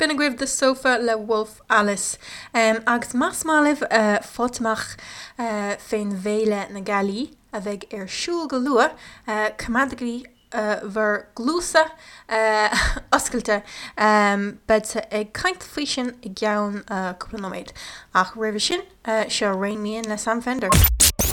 B'in agaibh The Sofa le Wolf Alice. Agus más maith libh fáilt amach fén bhFéile na Gealaí a bheidh ar siúl go luath, coimeádaigí bhur gcluasa oscailte. Beadsa ag caint faoi sin i gceann cúpla nóiméad. Ach roimhe sin, seo Rain Me In le Sam Fender.